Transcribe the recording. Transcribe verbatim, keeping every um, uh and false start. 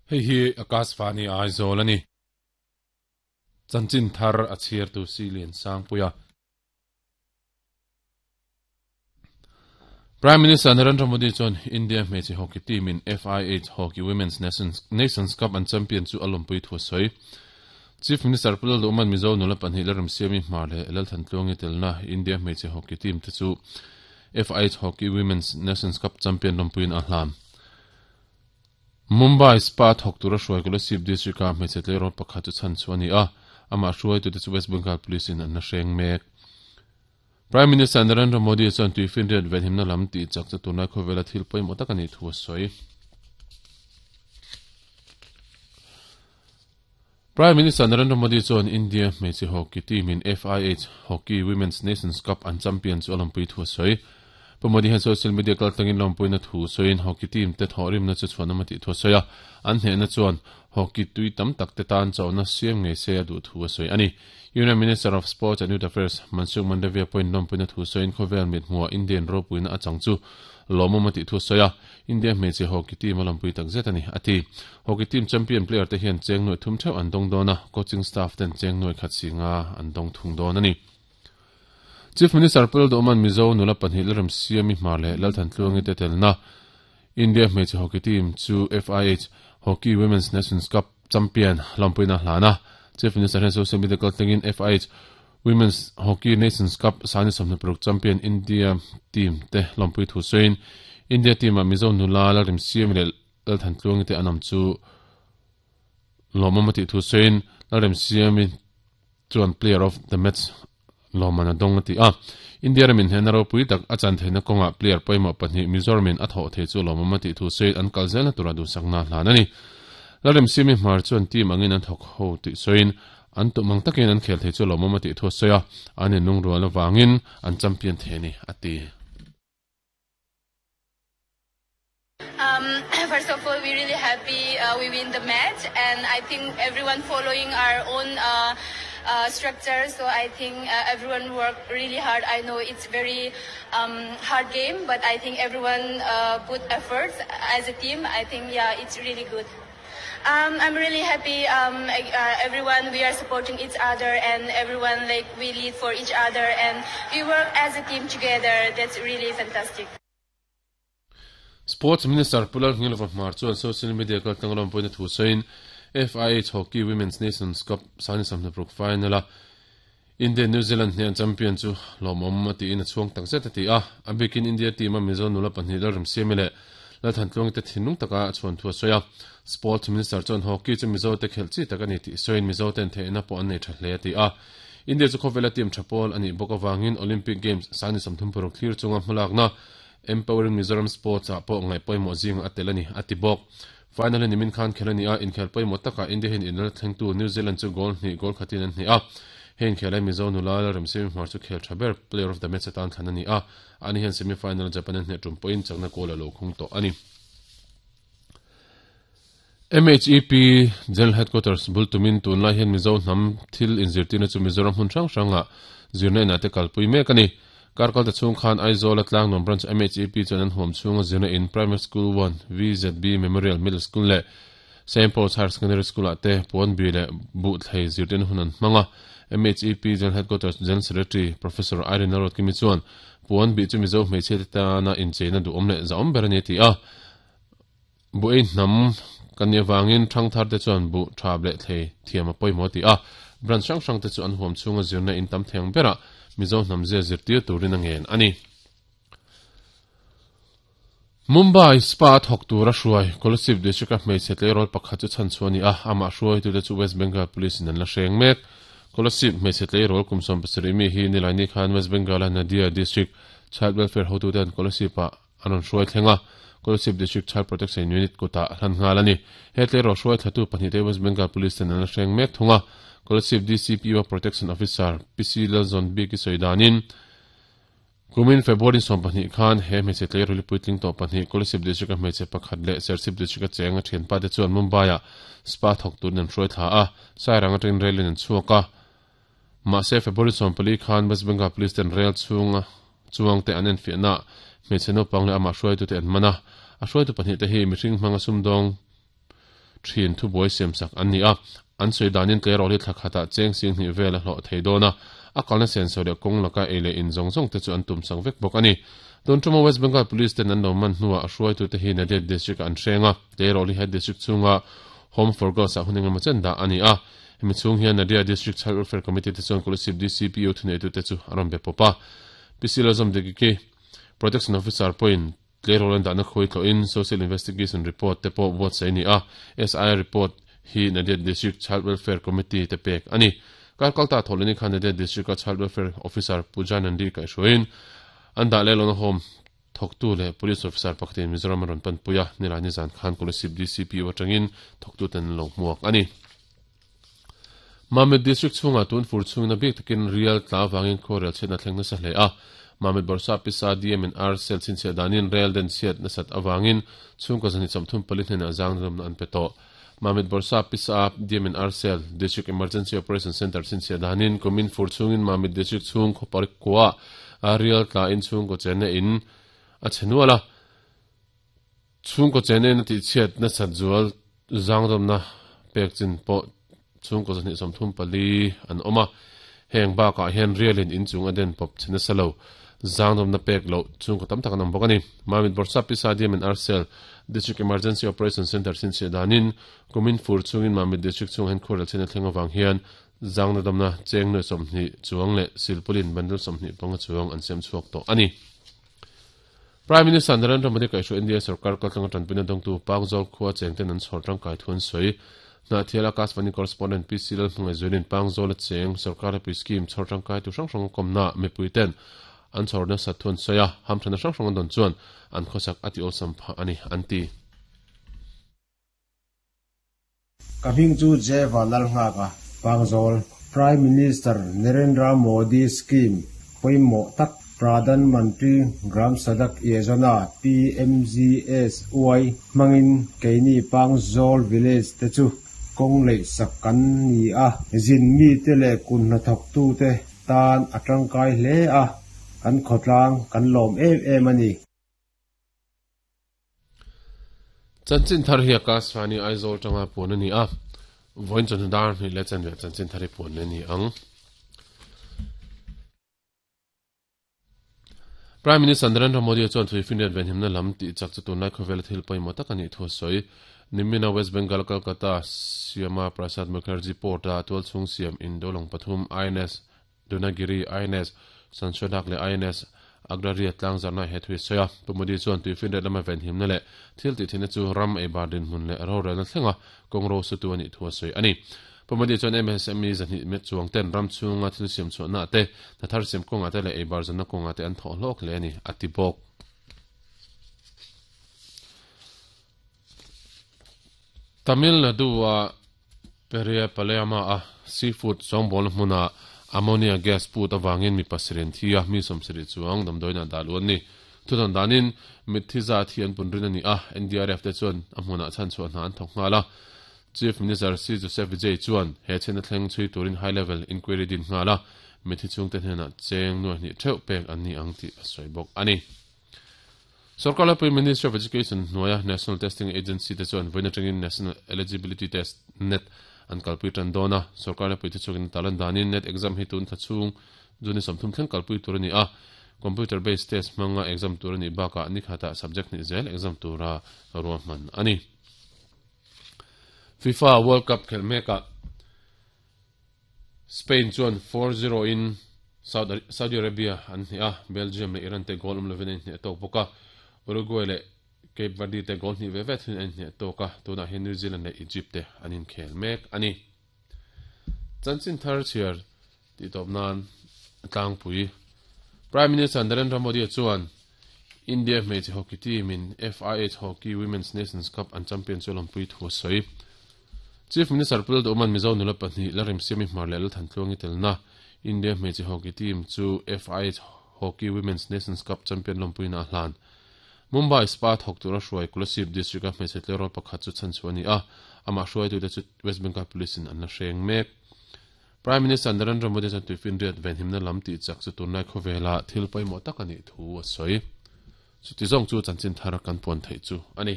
Hei hi Akashvani Aizawl a ni. Chanchin thar a chhiar tu si lian sang puia. Prime Minister Narendra Modi chuan India hmeichhe hockey team in F I H Hockey Women's Nations, Nations Cup an champion chu a lawmpui thu a sawi. Chief Minister Pu Lalduhman Mizo nula pahnih la remsiami hmar leh Lalthantluangi telna India hmeichhe hockey team te chu F I H Hockey Women's Nations Cup champion lawmpuiin a hlan. Mumbai Spa thawk tura hruai Kolasib district-a hmeichhe tleirawl pakhat chu chhan chu a ni a, amah hruaitute chu West Bengal Police in an la hreng mek. Prime Minister Narendra Modi chuan tuifinriat venhimna lam tih chak chu tunlai khawvela thil pawimawh tak a nih thu a sawi. Prime Minister Narendra Modi chuan India hmeichhe hockey team in F I H Hockey Women's Nations Cup an champion chu a lawmpui thu a sawi. Pu Modi hian social media kaltlangin lawmpuina thu sawiin hockey team te thawhrimna chu chhuan awm a tih thu a sawi a, an hnehna chuan hockey tui tam tak te tan chauhna siam ngei se a duh thu a sawi a ni. Union Minister of Sports and Youth Affairs Mansukh Mandaviya pawhin lawmpuina thu sawiin khawvel mithmuhah Indian ropuina a chang chu lawmawm a tih thu a sawi a, India hmeichhe hockey team a lawmpui tak zet a ni, a ti. Hockey team champion player te hian cheng nuai thum theuh an dawng dawn a, coaching staff ten cheng nuai khat si nga an dawng thung dawn a ni. Chief Minister Pu Lalduhman Mizo nula pahnih Lalremsiami Hmar leh Lalthantluangi te telna India hmeichhe hockey team chu F I H Hockey Women's Nations Cup champion lawmpuina hlan a. Chief Minister hian social media kaltlangin F I H Women's Hockey Nations Cup sani sawmhnih paruk champion India team te lawmpui thu sawiin India team ah Mizo nula Lalremsiami leh Lalthantluangi te an awm chu lawmawm a tih thu sawiin Lalremsiami chuan player of the match lawmman a dawng a ti a. India ramin hnehna ropui tak a chan theihna kawngah player pawimawh pahnih Mizoramin a thawh thei chu lawmawm a tih thu sawiin an kal zelna tura duhsakna hlan a ni. Lalremsiami Hmar chuan team angin an thawk ho tih sawiin an tum ang takin an khel thei chu lawmawm a tih thu a sawi a, an inlungrual avangin an champion thei a ni, a ti. Um, first of all, we're really happy uh, we win the match, and I think everyone following our own uh, uh, structure. So I think uh, everyone worked really hard. I know it's very um, hard game, but I think everyone uh, put efforts as a team. I think yeah, it's really good. Um, I'm really happy. Um, uh, everyone, we are supporting each other, and everyone like we lead for each other, and we work as a team together. That's really fantastic. Sports Minister Pu Lalngilova Hmar chuan social media kaltlang lawmpuina thu sawiin F I H Hockey Women's Nations Cup sani sawmhnih paruk final a India New Zealand hnian champion chu lawmawm a tiin a chhuang tak zet a ti a. A bikin India team a Mizo nula pahnih Lalremsiami leh Lalthantluangi te thinlung taka a chhuan thu a sawi a. Sports Minister chuan hockey chu Mizo te khelh chi tak a ni tih sawiin Mizo ten theihna pawh an nei tha hle a ti a. India chu khawvela team tha pawl a nih bawk avangin Olympic Games sani sawmthum paruk thlir chunga hmalakna Empowering Mizoram Sports ah pawh ngaih pawimawh zing a tel a ni, a ti bawk. Final hi nimin khan khel a ni a, inkhel pawimawh takah India hian inral thlengtu New Zealand chu goal hnih goal khatin an hnih a. Hei inkhel ai Mizo nula Lalremsiami Hmar chu khel tha ber player of the match atan thlan a ni a, ani hian semi final Japan an hneh tum pawhin chakna goal a lo khung tawh a ni. M H E P General Headquarters bul tumin tunlai hian Mizo hnam thil inzirtirna chu Mizoram hmun hrang hrangah zirna inah te kalpui mek a ni. Karkal ta chhung khan Aizawl a Tlangnuam Branch M H E P chuan an huam chhunga zirna in Primary School one, V Z B Memorial Middle School leh Saint Paul's Higher Secondary School ah te puan bi leh buh thlei zirtirna hun an hmang a. M H E P General Headquarters General Secretary Professor Irene Lalruatkimi chuan puan bi chu Mizo hmeichhia te tana incheina duhawm leh zahawm ber a ni a ti a. Bu ei hnam kan nih avangin thangthar te chuan bu tha leh thlei thiam a pawimawh a ti a. Branch hrang hrang te chu an huam chhunga zirna in tam theng berah Mizo hnam zia zirtir turin a ngen a ni. Mumbai Spa a thawk tur a hruai Kolasib district a hmeichhe tleirawl pakhat chu chhan chhuah a ni a, amah hruaitute chu West Bengal Police in an la hreng mek. Kolasib hmeichhe tleirawl kum sawm pasarih mi hi Nilaini khan West Bengal a Nadia district Child Welfare hotute an Kolasib ah an rawn hruai thleng a, Kolasib District Child Protection Unit kutah hlan nghal a ni. He tleirawl hruai thlatu pahnih te West Bengal Police ten an la hreng mek thung a, Kolasib D C P O Protection Officer P C Lalzawnbiki sawi danin kumin February sawm pahnih khan he hmeichhe tleirawl hi puitling tawh pahnih Kolasib District a hmeichhe pakhat leh Serchhip District a cheng a thianpa te chuan Mumbai ah spa thawk turin an hruai thla a, Sairang atangin rail in an chhuak a. Mahse February sawm pali khan West Bengal Police ten rail chhunga chuang te an enfiahna hmeichhe naupang leh amah hruaitute an man a, a hruaitu pahnih te hi mihring hmanga sumdawng thin thu boi sem sak an ni a an soi danin tlerol hi thlakhata cheng sing ni vela hlo theidona a kalna sensor le kong laka ele in zong zong te chu an tum sang vek bok ani don tuma West Bengal Police ten an lo man hnuwa a hruai tu te hi Nadia district an hrenga tlerol hi head district chunga Home for Girls a huninga machen da ani a hemi chung hian Nadia District Child Welfare Committee te chuan Kolasib D C P O thunei tu te chu aram be popa P C Lazom de ki Protection Officer point tlerol an dana khoi tlo in Social Investigation Report te po buat sai ni a S I report hi Nadia District Child Welfare Committee te pek ani Kalkalta tholini khan Nadia District Child Welfare Officer Puja Nandi kai shoin an da le lon home thoktu le police officer pakhatin Mizoram ron pan puya nilani zan khan Kolasib D C P O atangin thoktu ten lo hmuak ani Mamit District chunga tun fur chungna bik takin real tla wangin khorel chena thlengna sa hle a Mamit Borsa Pisa D M and R cell chin che danin rail den siat na sat awangin chungka zani chamthum palit hna zang ram an peto Mamit Borsa Pisa D M and R cell District Emergency Operation Center chin che danin komin fur chungin Mamit District chung khopar kwa real tla in chung ko chena in a chenuala chung ko chene na ti chiat na sat zual zang ram na pek chin po chung ko zani samthum pali an oma heng ba ka hen realin in chung aden pop chena salo zangdom na pek lo chung ko tam tak nam bokani Mamit Borsa Pisa D M and R cell District Emergency Operation Center sin che danin kumin fur chungin Mamit District chung hen khorel chena thlenga wang hian zangna damna cheng noi somni chuang le silpulin bandul somni panga chuang an sem chuak to ani Prime Minister Narendra Modi kai shu India sarkar kaltanga tanpina dongtu Pangzol khuwa chengten an chhortang kai thun soi na thiala Akashvani correspondent P C Lal hmungai zuilin Pangzol cheng sarkar pi scheme chhortang kai tu hrang hrang komna mipuiten an chhorna sathun soya hamthana hrang hrang don chuan an khosak ati olsam pha ani anti Kaming chu Jewa Lalnga ka Pangzol Prime Minister Narendra Modi scheme poimo tak Pradhan Mantri Gram Sadak Yojana P M G S Y mangin keini Pangzol village te chu kong lei sakan ni a zin mi te le kun na thok tu te tan atang kai hle a kan khotlang kan lom em em ani Chanchin thar hi Akashvani Aizawl tanga pun ani a voin chon dar ni le chan ve chanchin thari pun ani ang Prime Minister Narendra Modi chuan thui finriat venhimna lam ti chak chu tunlai khawvel thil pawimawh tak ani thu sawi nimina West Bengal Kolkata Syama Prasad Mukherjee Port a tual chung siam Indolong pathum I N S Dunagiri I N S Sanshodak le I N S Agraria tlang zarna he thui soya Pu Modi chuan tui finriat lama venhimna le thil ti thina chu ram ei bardin hmun le ro relna thlenga kawngro su tu ani thu sawi ani Pu Modi chuan M S M E zahnih met chuang ten ram chunga thil siam chuan na te na thar siam kawnga te le ei bar zanna kawnga te an thawh hlawk hle ani ati bawk Tamil Nadu a Periya Palayama a seafood songbol hmuna ammonia gas put awangin mi pasirin thia mi somsiri chuang damdoina daluan ni thudan danin mithiza thi an punrin ani a N D R F te chuan a hmuna chan chuan hna an thawk nghala Chief Minister C Joseph Vijay chuan he chena thleng chui turin high level inquiry din nghala mithi chung te hnena cheng nuai ni theuh pek an ni ang ti a sawi bawk ani Sarkar Prime Ministry of Education hnuaia National Testing Agency te chuan vawiin atangin National Eligibility Test N E T an kalpui tan dawna sarkar pui te chukin talan danin N E T exam hi tun tha chung juni samthum thleng kalpui tur ani a computer based test hmanga exam tur ani baka ni khata subject ni zel exam tura ruahman ani FIFA World Cup khelmeka Spain chuan four zero in Saudi Arabia an hni a Belgium le Iran te goal um lovin an hni tok boka Uruguay le Cape Verde te goal hni ve ve thin an hni toka tuna hi New Zealand le Egypt te anin khel mek ani chanchin thar chiar ti top nan tlangpui Prime Minister Narendra Modi chuan India hmeichhe hockey team in F I H Hockey Women's Nations Cup an champion chu lampui thu sawi Chief Minister Pul Oman Mizo nula pahnih la rem siami hmar le than tluangi telna India hmeichhe hockey team chu F I H Hockey Women's Nations Cup champion lampui na hlan Mumbai Spa thok tura hruai Kolasib district a hmeichhe tlerol pakhat chu chan chu ani a ama hruai tu te chu West Bengal Police in an la hreng mek Prime Minister Narendra Modi chuan tuifinriat venhimna lam ti chak chu tunlai khawvela thil pawimawh tak ani thu a sawi chu ti zawng chu chanchin thar kan puan theih chu ani.